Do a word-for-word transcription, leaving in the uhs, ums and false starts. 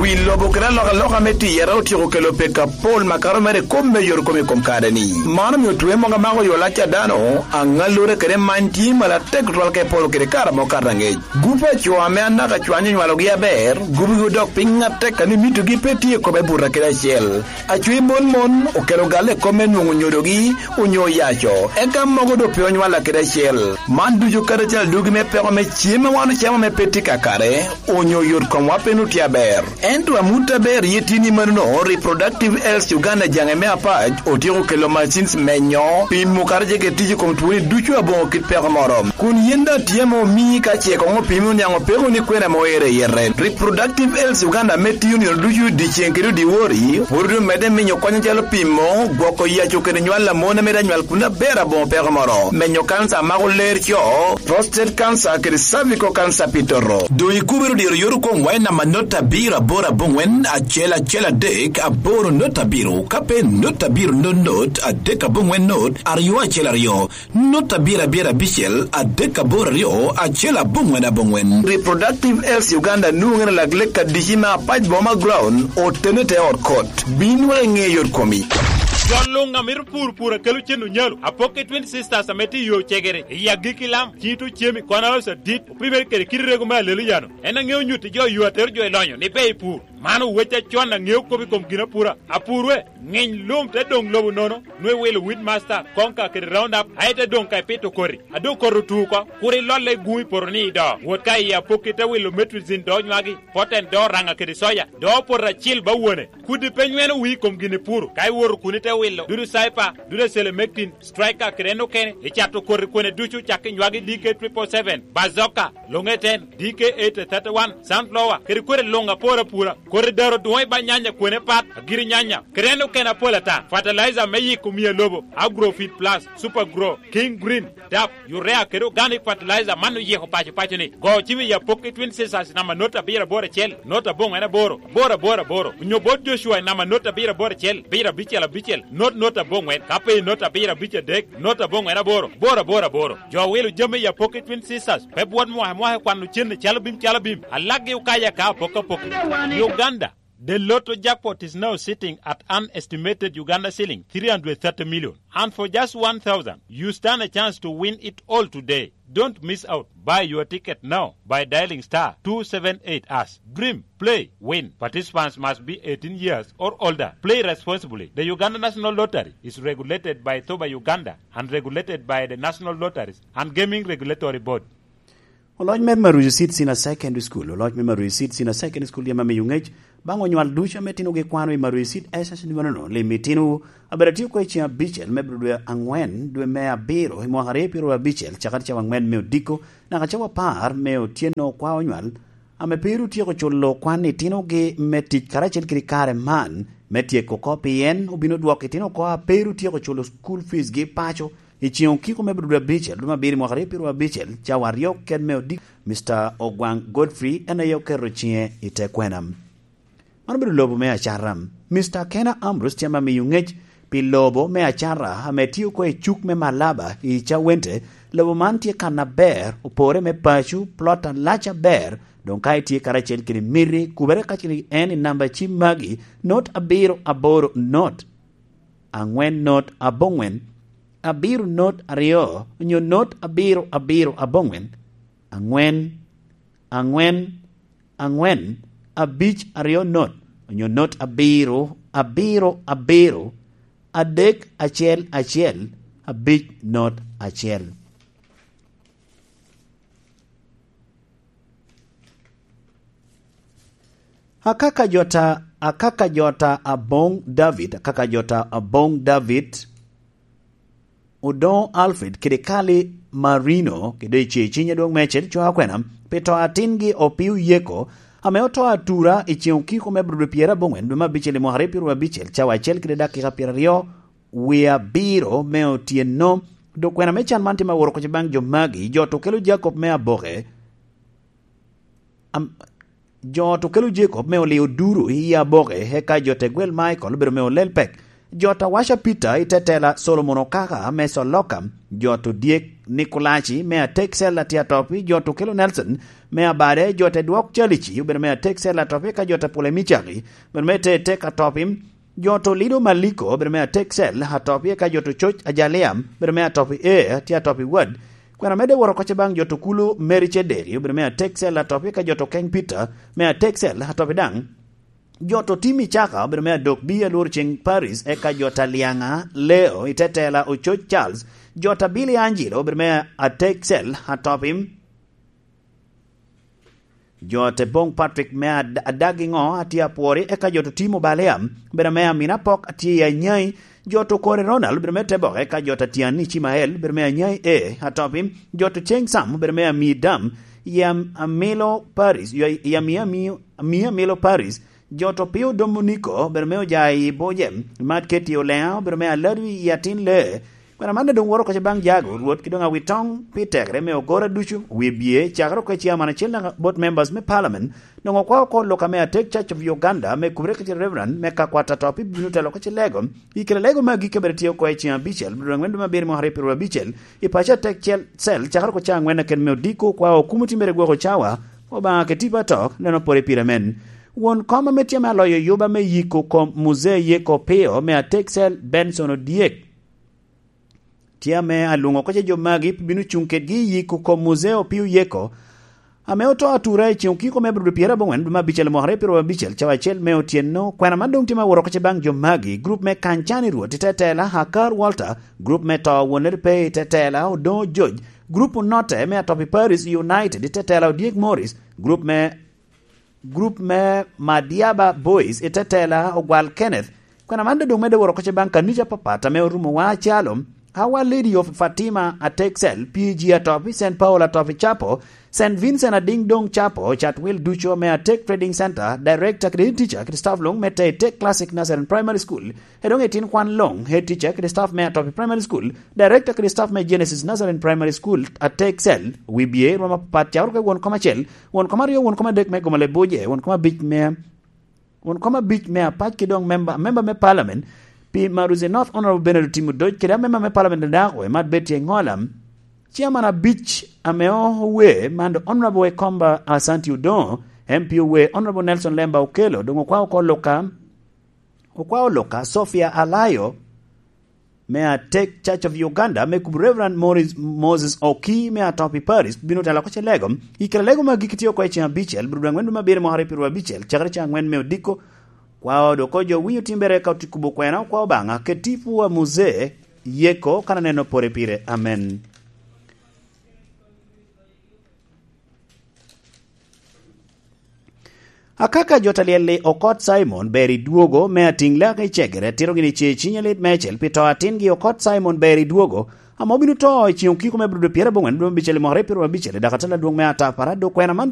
Wi lobo kede alokaloka me tiyere otyeko kelo pek apol makato mere kom me yot kom i kom kare-ni. Man omiyo twe mogo amako yo lac a dano angalore kede many tye malo atek tutwal ka ipolo kede kare mukato angec. Gup aco ame anaka cwanyo nywalogi aber, gupgi odok piny atek ka ni mitogi pe tye i kome buta kede acel. Aco i mon mon okelo galle i kom me nwongo nyodogi onyo yaco, eka mogo do pe onywala kede acel. Man ducu kadi cal dugi me peko me cem ma wan ocamo me pe tye kakare, onyo yot komwa pe nutye aber. Ento amut aber ye tye ni mano Reproductive Health Uganda jange me apac otyeko kelo machines menyo pimo kare ke tic i kom twoni ducu abongo kit peko moro. Kun yen da tye ma omii ka ce kong opimo niango peko ni kwena ma oere yere. Reproductive Health Uganda me tiyo nino ducu dyeceng kede dyewor pud omedde minyo konyo calo pimo gwoko yaco kede nywal lamon ame da nywal kun aber abongo peko moro. Menyo kanca mako ler co, prostate cancer kede cervical cancer pitoro. Do ikubero dyero yoro kom wai namba not abiro aboro abongwen acel acel adek aboro not abiro kape not abiro not not adek abongwen not aryo acel aryo not abiro abiro abicel adek aboro aryo acel abongwen abongwen. Reproductive Health Uganda nuŋene laglek kadici ma apac boma ground otene te ot kot. Bin wek ing'e yot komi. Jolunga mito pur pur akelo cen onyalo apoki Twin Sisters ame tye yo cegere i agikki lam cito cemi kwana osa dit opimere kede kit rego me alelo yano en ang'eo nyuti jo yo atero jo ilonyo ni be i pur mano weche chon ang'eo kobi kom gina pura apurwe ng'iny lum te dong lobo nono nwe wilo weed master konka kede round up ae te dong ka ipito kori ado koro tuko kuri lolle gumi poro ni ido wot ka i apoki te wilo metrizin do nywagi poten do ranga kede soya do poro acil ba wuone kudi pe nyweno wi kom gini puro ka iwuoro kuni te wilo dudu saipa dudu selemectin striker kede en okene icato kori kwene ducu cak inywagi D K triple seven bazoka longeten D K eight thirty one sunflower kede kore lunga pora pura kore daro duoy ba nyanya kwene pat agiri nyanya kede en okene apola ata fertilizer me yiko miye lobo agrofit plus super grow king green dap urea kede organic fertilizer mano yiko pacho pacho ni go chimi ya poki Twin Sisters namba not abiro aboro achiel not abong'wen aboro aboro aboro aboro onyo bot Joshua namba not abiro aboro achiel abiro abicel abicel not not abong'wen kape not abiro abic adek not abong'wen aboro aboro aboro aboro jo wilo jami ya poki Twin Sisters pe buot mwahe mwahe kwano cen chalo bim chalo bim alagi ukaya ka apoka poki Uganda. The lotto jackpot is now sitting at an estimated Uganda shilling three hundred thirty million. And for just one thousand, you stand a chance to win it all today. Don't miss out. Buy your ticket now by dialing star two seven eight hash. Dream, play, win. Participants must be eighteen years or older. Play responsibly. The Uganda National Lottery is regulated by Toba Uganda and regulated by the National Lotteries and Gaming Regulatory Board. Oloc me Maruzi Seed Senior Secondary School oloc me Maruzi Seed Senior Secondary School yema miyo ngec bang onywal ducu ame tino gikwano i Maruzi Seed S S nimanono limi tino abedo tio kwe ceng abicel me bedo dwe angwen dwe me abiro i mwaka aryo piero abicel cakati cawa angwen me odiko naka cawa apar me otieno kwa onywal ame peru tyeko culo kwan i tinogi me tic karacel kede kare man me tyeko ko pien obino dwoko itino ko aperu tyeko culo school fees gi paco i ceng okiko me bedo dwe abicel dwe mabiro i mwaka aryo piero abicel cawa aryo ked me odiko Mister Ogwang Godfrey en aye oketo cinge i te kwena man obedo lobo me acara Mister Kena Ambrose tye ma miyo ngec pi lobo me acara ame tio ko i cuk me Malaba i Chawente lobo man tye kana ber opore me pacu plot alac aber dong ka itye karacel kede miti kubere kacel en i namba cim magi not abiro aboro not angwen not abongwen abiro not aryo onyo not abiro abiro abongwen angwen angwen angwen abic aryo not onyo not abiro abiro abiro adek acel acel abic not acel. Akaka jota akaka jota abong David akaka jota abong David Odon Alfred kede Kali Marino kede ce cinye dong mecel cwa kwena pi to atingi opiu yeko ame oto atura i ceng okiko me bedo pyera abongwen dwe mabicel i mwaka aryo piero abicel cawa acel kede dakika piero aryo wi abiro me otieno do kwena me can man tye ma woro koce bang jo magi jo to kelo Jacob me aboke am, jo to kelo Jacob me olio duru i aboke eka jo te gwel Michael obedo me olel pek. Jota Washa Peter itetela Solomon Okaka me Soloka Joto Diek Nikolachi me Atek Cell atia topi Joto Kelo Nelson me Abade Jote Duok Chalichi obedo me Atek Cell atopi ka Jota Pule Michaki obedo me Te Tek atopi Joto Lido Maliko obedo me Atek Cell atopi ka Joto Choch Ajaliam obedo me atopi E atia topi Wad Kwena mede woro koche bang Joto Kulu Mary Chederi obedo me Atek Cell atopi ka Joto Keng Peter me Atek Cell atopi dang Joto Timi Chaka obedo me adok bi alwor chieng Paris eka Jota Lianga Leo itetela Ochoch Charles Jota Billy Angelo obedo me Atek Cell atopi Jote Bong Patrick me ad adagi ngo atia puori eka Joto Timo Baleam obedo me Amina Pok atia Anyai Joto Kore Ronald obedo me Tebok eka Jota Tiani Chimael obedo me Anyai E atopi Joto Cheng Sam obedo me Amidam Yam Amilo Paris Yami Ami Ami Amilo Paris Joto Pio Dominico obedo me Ojai Bojem Mat Keti Olea obedo me Aladwi Yatin Le Kwena man dong woro koche bang jago ruot ki dong awitong pi tekre me ogora ducu wi bie chakro ke chairman achiel na board members me parliament dong okwa ko loka me Atek Church of Uganda me kubre ke Reverend me kakwata topi binu telo koche lego ikele lego ma gike bere tiyo ko e chiang abichel biro ngwen ma bir mo hari piero abichel i pacha tek chel sel chakro ko chang ngwen ken me odiko kwa okumu timbere gwoko chawa oba ke tipa tok neno pore piramen won koma me tiama loyo yuba me yiko kom muzee yeko pio me Atek Cell Benson Odiek tia me alungo koche jomagi binu chunket gi yiko kom muzeo piu yeko ame oto atura e chieng' kiko me brudu piero abong'wen dwe ma abichel mo piero abichel chawa achiel me otieno kwena madong tima woro koche bang' jomagi group me kanchani ruoth itetela Hakar Walter group me to wuoner pe itetela Odo George group note me atopi Paris United itetela Odiek Morris group me group me Madiaba Boys itetela Ogwal Kenneth kwena mande dong mede woro koche bang' kanisa papata me orumo wa chalo Our Lady of Fatima Atek Cell, P G Atopi, Saint Paul Atopi Chapo, Saint Vincent Ading Dong Chapo, Chatwill Ducho me Atek Trading Center, Director Kredit Teacher Christoph Long me Tek Classic Nazarene Primary School, Hedong eighteen Kwan Long, Head Teacher Christoph me Atopi Primary School, Director Christoph me Genesis Nazarene Primary School, Atek Cell, W B A, Roma Patchaurke one comma Chel, one comma Rio, one comma Dek me Gomale Boje, one comma Beach me, one comma Beach me Apache Kidong member, member me Parliament, P. Maruze North Honorable Benedict Timudoj kida member me Parliament ndakwe Mat Betty Ngolam Chairman a Beach ameo we mando Honorable Ekomba Asanti Udon M P we Honorable Nelson Lemba Okelo dongo kwa okoloka okwa oloka Sophia Alayo me Atek Church of Uganda me kubu Reverend Morris Moses Oki me Atopi Paris bino tala koche lego ikele lego magikitio kwa ichi abichel brudangwendu mabiri mohare piru abichel chakare changwen me odiko kwa odokojo winyo timbere ka utikubo kwena kwa obanga ketifu wa muzee yeko kana neno pore pire amen. Akaka jotaliele Okot Simon Berry Duogo me ating lake chegere tiro gini che chinyalit mechel pito atin gi Okot Simon Berry Duogo amobinu to chiong kiko me brudo piero bongwen dwe bichele mohre piero abichele dakatala duong me atapara do kwena man